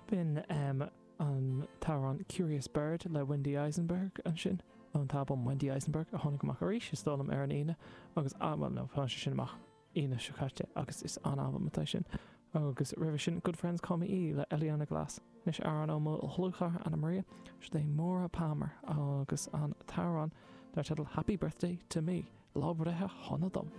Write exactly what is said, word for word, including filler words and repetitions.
B'in um, an t-amhrán Curious Bird le Wendy Eisenberg ansin ón t-albam Wendy Eisenberg a tháinig amach arís is dóigh liom ar an Aoine agus ah, well, no, tá sé sin amach Aoine seo caite agus is an-albam atá sin. Agus roimhe sin Good Friends Call Me E le Eliana Glass. Anois amhrán ó mo dhlúthchara Anna Maria sé Maura Palmer agus an t-amhrán dar teideal Happy Birthday to Me, lá breithe shona dom.